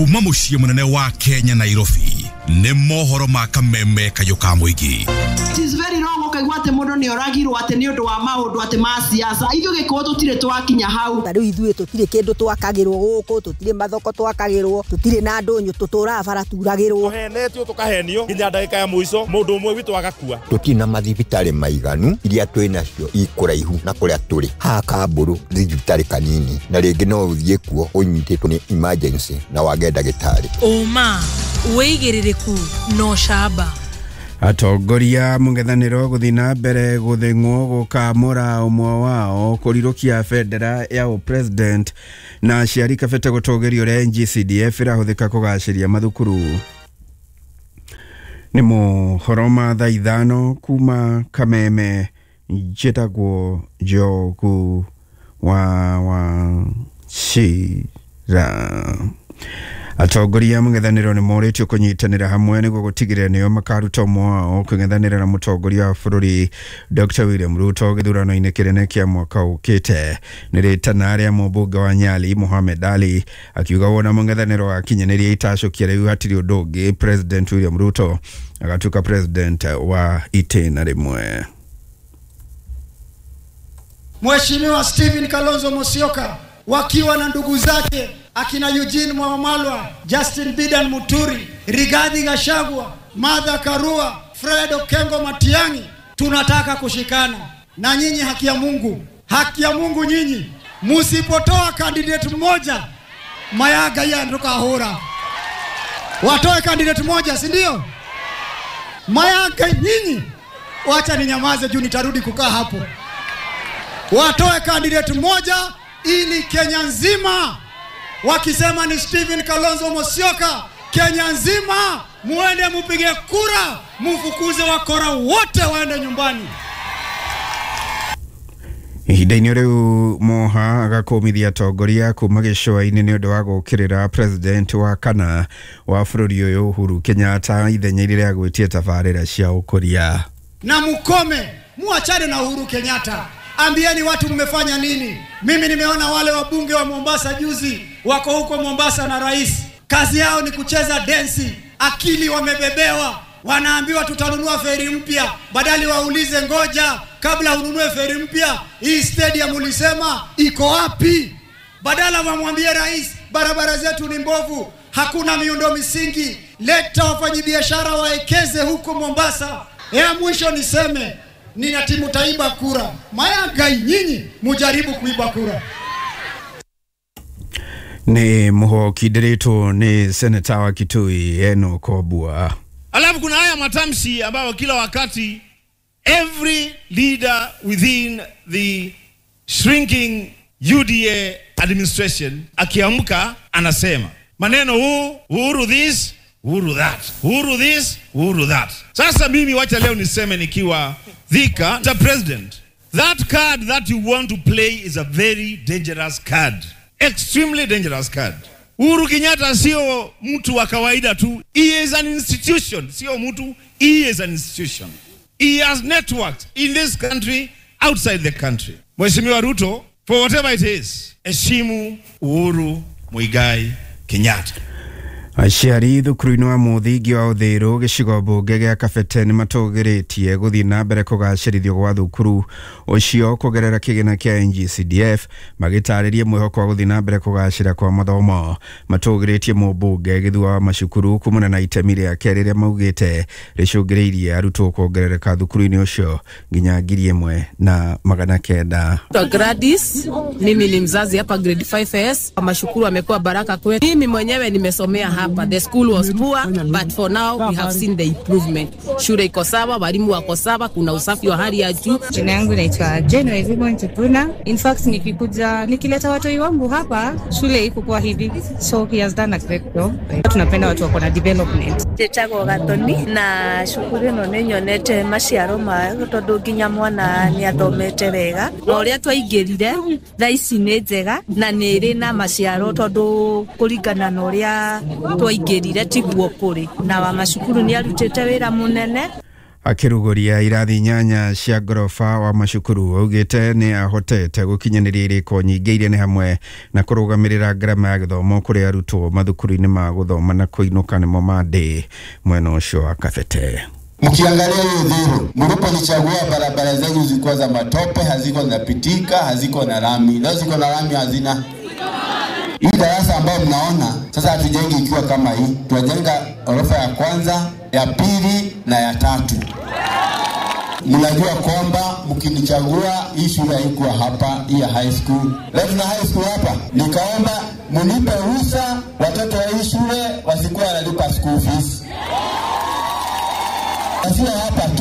Kuma mũciĩ mũnene wa Kenya Nairobi nĩ mohoro ma kameme kayũ ka mũingĩ. It is very wrong ũkaigua atĩ mũndũ nĩ oragirwo atĩ nĩ ũndũ wa maũndũ atĩ ma siasa. Ithuĩ Gĩkũyũ tũtirĩ twakinya hau. Ta rĩu ithuĩ tũtirĩ kĩndũ twakagĩrwo gũkũ, tũtirĩ mathoko twakagĩrwo, tũtirĩ na ndũnyũ, tũtũraga bara turagĩrwo. Tũhenetio tũkahenio nginya ndagĩka ya mũico mũndũ ũmwe witũ agakua. Tũtirĩ na mathibitarĩ maiganu, iria twĩ nacio ikũraihu na kũrĩa tũrĩ. Haha Kambũrũ thibitarĩ kanini na rĩngĩ no ũthiĩ kuo ũnyitĩtwo nĩ emergency na wage ndagĩtarĩ. Ũma, wĩigĩrĩrĩku na ũcamba. Atongoria mũng'ethanĩro gũthiĩ na mbere gũthĩng'wo gũkamũra ũmwe wao kũrirũkia bendera ya ũpresident na aciari Kabete gũtũgĩrio ũrĩa NGCDF ĩrahũthĩka kũgacĩria mathukuru. Nĩ mohoro ma thaa 5 kuma Kameme, njĩtagwo Njogu wa Wachira. Atongoria mũng'ethanĩro nĩ morĩtio kũnyitanĩra hamwe nĩguo gũtigĩrĩra nĩo makaruta ũmwe wao kũng'ethanĩra na mũtongoria wa bũrũri Dr. William Ruto gĩthurano-inĩ kĩnene kĩa mwaka ũkĩte. Nĩ rĩtana rĩa mũmbunge wa Nyali Mohamed Ali akiuga wona mũng'ethanĩro wakinyanĩria itacũkia rĩu hatirĩ ũndũ ũngĩ President William Ruto agatuĩka president wa itĩna rĩmwe. Mheshimiwa Stephen Kalonzo Musyoka wakiwa na ndugu zake akina Eugene Wamalwa, Justin Bidan Muturi, Rigathi Gachagua, Martha Karua, Fred Okengo Matiang'i, tunataka kushikana na nyinyi. Haki ya Mungu, haki ya Mungu nyinyi msipotoa candidate mmoja mayaga ya ndukahura. Watoe candidate mmoja, si ndio? Mayaga nyinyi, wacha ninyamaze juu nitarudi kukaa hapo. Watoe candidate mmoja ili Kenya nzima wakisema ni Stephen Kalonzo Musyoka, Kenya nzima muende mupige kura, mufukuze wakora wote waende nyumbani. Ihinda-inĩ rĩu Moha agakũmithia atongoria kuma gĩcũa-inĩ nĩ ũndũ wa gũũkĩrĩra president wa kana wa bũrũri ũyũ Uhuru Kenyatta ithenya-inĩ rĩa gwĩtia tabarĩra cia ũkũria. Na mukome, muachane na Uhuru Kenyatta. Ambieni watu mmefanya nini. Mimi nimeona wale wabunge wa Mombasa juzi wako huko Mombasa na rais, kazi yao ni kucheza densi, akili wamebebewa, wanaambiwa tutanunua feri mpya, badali waulize ngoja, kabla ununue feri mpya, hii stadium ulisema iko wapi? Badala wamwambie rais barabara zetu ni mbovu, hakuna miundo misingi, leta wafanyibiashara waekeze huko Mombasa. Ya mwisho niseme, nina timu taiba kura. Mayaga nyinyi mujaribu kuiba kura. Ni muhokindiritwo ni seneta wa Kitui Enoch Obua. Alafu kuna haya matamshi ambayo kila wakati every leader within the shrinking UDA administration akiamka anasema maneno huu, Uhuru this, Uhuru that, Uhuru this, Uhuru that. Sasa mimi wacha leo niseme nikiwa Thika, the president, that card that you want to play is a very dangerous card. Extremely dangerous card. Uhuru Kenyatta sio mtu wa kawaida tu. He is an institution. Sio mtu, he is an institution. He has networks in this country, outside the country. Mheshimiwa Ruto, for whatever it is, heshimu Uhuru Muigai Kenyatta. Aciari thukuru-inĩ wa mũthingi wa Ũthĩrũ gĩcigo mbunge gĩa Kabete nĩ matũgĩrĩtie gũthiĩ na mbere kũgacĩrithio gwa thukuru ũcio kũgerera kĩgĩna kĩa NGCDF, magĩtarĩria mwĩhoko wa gũthiĩ na mbere kũgacĩra kwa mathomo. Matũgĩrĩtie mũmbunge Gĩthua wa macukuru kumana na itemi rĩake rĩrĩa maugĩte rĩcũngĩrĩirie arutwo kuongerereka thukuru-inĩ ũcio nginya 1900. Gladys, mimi ni mzazi hapa grade 5S. Mashukuru amekuwa baraka kwetu. Mimi mwenyewe nimesomea hapa. The school was poor, but for now we have seen the improvement. Shule iko sawa, walimu wako sawa, kuna usafi wa hali ya juu. Jina yangu naitwa Jane Wazimu Ntupuna. In fact, nikikuja nikileta watoi wangu hapa, shule iko kwa hivi. So he has done a great job. Tunapenda watu wako na development. Njĩtagwo Gatoni na cukuru ĩno nĩ nyonete maciaro mayo tondũ nginya mwana nĩ athomete wega. Na ũrĩa twaingĩrire thaa ici nĩ njega na nĩ ĩrĩ na maciaro tondũ kũringana na ũrĩa twaingĩrire tiguo kũrĩ. Na wa macukuru nĩ arutĩte wĩra mũnene. Akĩrugũria irathi 8 cia ngoroba wa macukuru augĩte nĩ ahotete gũkinyanĩria irĩko nyingĩ iria nĩ hamwe na kũrũgamĩrĩra ngarama ya gĩthomo kũrĩ arutwo mathukuru-inĩ ma gũthoma na kũinũka nĩmo ma ndĩ mwena ũcio wa Kabete. Mkiangalia hiyo Uthiru, mliponichagua barabara zenyu zilikuwa za matope, haziko zinapitika, haziko na lami. Leo ziko na lami, hazina. Hii darasa ambayo mnaona sasa hatujengi ikiwa kama hii, tunajenga orofa ya kwanza, ya pili na ya tatu. Mnajua kwamba mkinichagua hii shule haikuwa hapa, hii ya high school. Leo tuna high school hapa. Nikaomba mnipe ruhusa watoto wa hii shule wasikuwa wanalipa school fees. Sio hapa tu.